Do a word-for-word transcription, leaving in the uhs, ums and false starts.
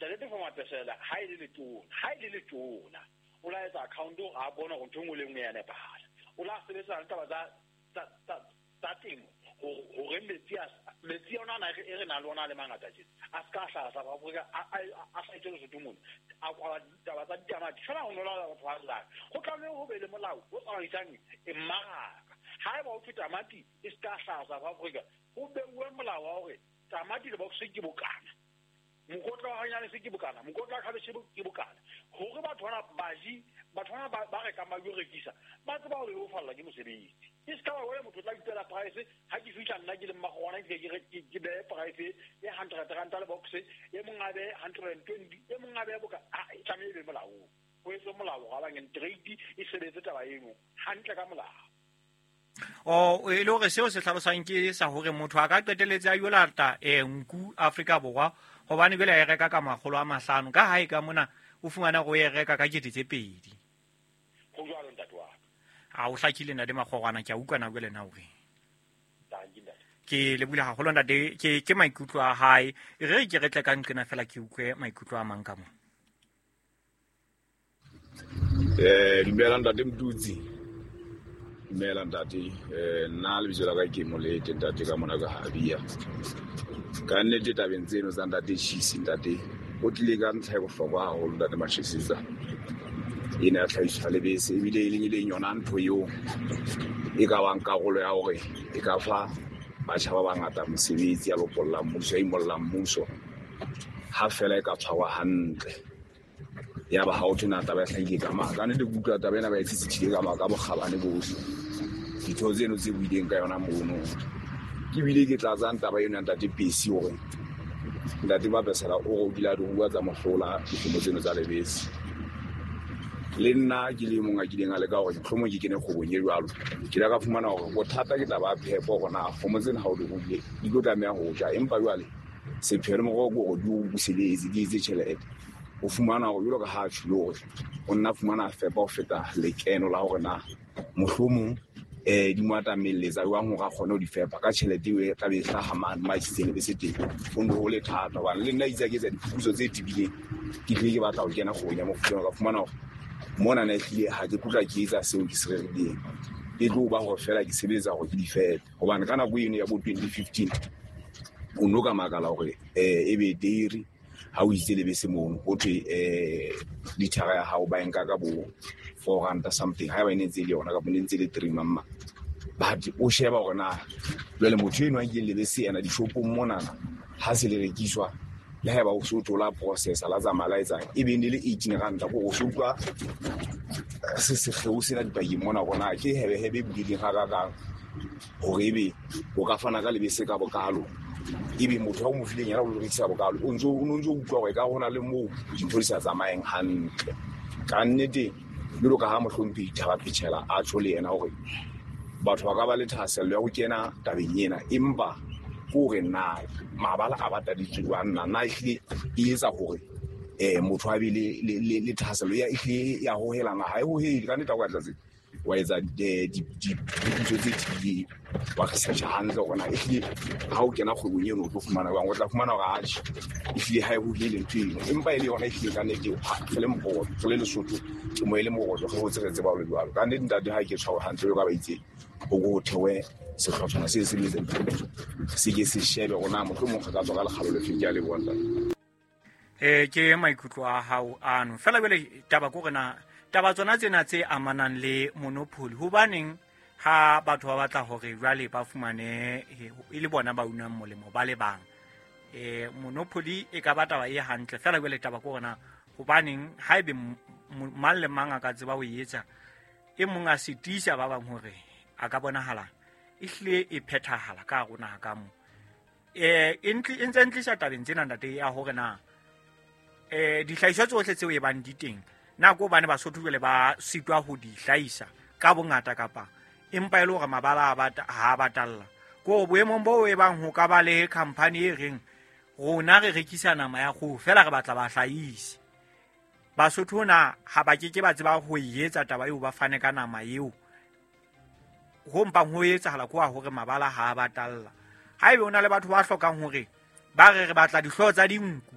Ntate Tefo Mapesela ha e le letona ha e le letona o la etsa account a bona hore ntho e nngwe le e nngwe ya nepahala. O la sebetsa le taba tsa tsa tsa tsa temo hore metsi a metsi ona ana e re nang le ona a le mangata tjena a se ka hlaha South Africa a a hlahetse Lesotho mona a kwala ditaba tsa ditamati fela ho nola batho ba llang. Ho tlameha ho be le molao o tsamaisang mmaraka. Haeba ho thwe tamati e se ka hlaha South Africa, ho beuwe molao wa hore tamati le box ke bokana, mokotla wa hanyane se ke bokana, mokotla wa khabeshe ke bokana, hore batho bana baji batho bana ba rekang ba yo rekisa ba tseba hore ho falla ke mosebetsi. E se ka ba wena motho o tla ipela price ha ke fihla nna ke le mmagona ke ke ke behe price e hundred ranta le box, e mong a behe hundred and twenty, e mong a behe boka. A e tlameha e be molaong, ho etswe molao ga bangeng trade e sebetse taba eno hantle ka molao. O e le hore seo se hlalosang ke sa hore motho a ka qetelletse a yo lata eh nku Afrika Borwa hobane jwale a e reka ka makgolo a mahlano ka hae ka mona o fumana go e reka ka kete tse pedi. Ho jwalo ntate wa ka. A o hlakile ntate Makgorwana, ke a utlwa na jwale na hore Tanki ntate. Ke lebohile haholo ntate, ke ke maikutlo a hae. E re ke re tle ka nqena fela ke utlwe maikutlo a mang ka mo. Eh dumela ntate Mtutsi. Dumela ntate, eh nna lebitso la ka ke Molete ntate ka mona ka Habia. Ka nnete tabeng tseno tsa ntate Chisi ntate o tlile ka ntlha e bohlokwa haholo ntate Mashesisa. Ena ya tlhahiso ya lebese ebile e leng e leng yona ntho eo e ka bang karolo ya hore e ka fa batjha ba bangata mosebetsi ya lopolla mmuso, ya imolla mmuso ha fela e ka tshwarwa hantle. Ya ba ha o thwe na taba e hlahile ka mang. Ka nnete ke utlwa taba ena ba e tsitsithile ka maka bokgabane bohle. Ditho tseno tse buileng ka yona mono. Ke bile ke tlatsang taba eno ya ntate Pesi hore ntate Mapesela o re o kile a di rua tsa mohlola dikgomo tseno tsa lebese. Le nna ke le mong a kileng a leka hore mohlomong ke kene kgwebong e jwalo. Ke ile ka fumana hore bothata ke taba ya phepo hore na kgomo tsena ha o di ruile di tlo tlameha ho ja, empa jwale sepheo le morero ke hore di o buseletse, di etse tjhelete. O fumana hore jwalo ka ha a tjholo hore o nna fumana fepa ho feta lekeno la hore na mohlomong eh di mo atamelletsa jwang hore a kgone ho di fepa ka tjhelete eo e tla be e hlaha mane mo a isitseng lebese teng. Ho ne ho le thata hobane le nna itse ke etsa diphuputso tse tebileng, ke tlile ke batla ho kena kgwebong ya mofuta ona, ka fumana hore mona na ehlile ha ke tlotla ke etsa seo ke se rerileng. E tlo ba hore fela ke sebetsa hore ke di fepe hobane ka nako eno ya bo twenty fifteen o no ka makala hore eh ebe dairy ha o itse lebese mono ho thwe eh lithara ya hao ba e nka ka bo four rand something, ha eba e ne ntse e le yona kapa ne ntse e le three mamma. But o sheba hore na jwale motho eno a nkileng lebese yena dishopong monana ha se le rekiswa le haeba o so thola processor la tsamaya la etsang e be ne le eighteen rand ko o so utlwa se sekgeo sena dipakeng mona hore na ke hebehebe e bulehileng hakakang hore ebe o ka fana ka lebese ka bokalo ebe motho a o mo fileng yena o lo rekisa bokalo o ntso o ntso utlwa hore ka hona le moo dintho di sa tsamayeng hantle. Ka nnete jwalo ka ha mohlomphehi Thaba Phechela a tjho le yena hore batho ba ka ba le thahasello ya ho kena tabeng ena, empa ke hore na mabala a bataditswe jwang na na ehlile e etsa hore eh motho a be le le le thahasello ya ehlile ya hohelana ha e hohele. Ka nnete ha o ka tlatse wa etsa diphuputso tse tebileng wa research hantle hore na ehlile ha o kena kgwebong eno o tlo fumana jwang, o tla fumana hore atjhe ehlile ha e hohele ntho eno, empa e le yona ehlile ka nnete re le moqoqo re le Lesotho ke mo e le moqoqo re hotse re tseba ho le jwalo. Ka nnete ntate ha ke tshwarwe hantle jwalo ka ba itse ho ko thewe sehlotshwana se sebetsang se ke se shebe hore na mohlomong re ka tswa ka lekgalo lefeng. Ke a leboha ntate. Eh ke maikutlo a hao ano fela jwale taba ke hore na taba tsona tsena tse amanang le monopoly hobaneng ha batho ba batla hore jwale ba fumane e le bona ba unang molemo ba le bang eh monopoly e ka ba taba e hantle fela jwale taba ke hore na hobaneng ha ebe mang le mang a ka tseba ho etsa e mong a sitisa ba bang hore a ka bonahala e hlile e phethahala ka rona ka mo eh e ntse ntlisa tabeng tsena ntate ya hore na eh dihlahiswa tsohle tseo e bang di teng na ko bane Basotho jwale ba sitwa ho di hlahisa ka bongata kapa empa e le hore mabala a bata ha batalla ko boemong bo e bang ho ka ba le company e reng rona re rekisa nama ya kgoho fela re batla ba hlahise Basotho na ha ba ke ke ba tseba ho etsa taba eo ba fane ka nama eo ho mpang ho etsahala kwa hore mabala ha batalla. Ha ebe ona le batho ba hlokang hore ba re re batla dihlooho tsa dinku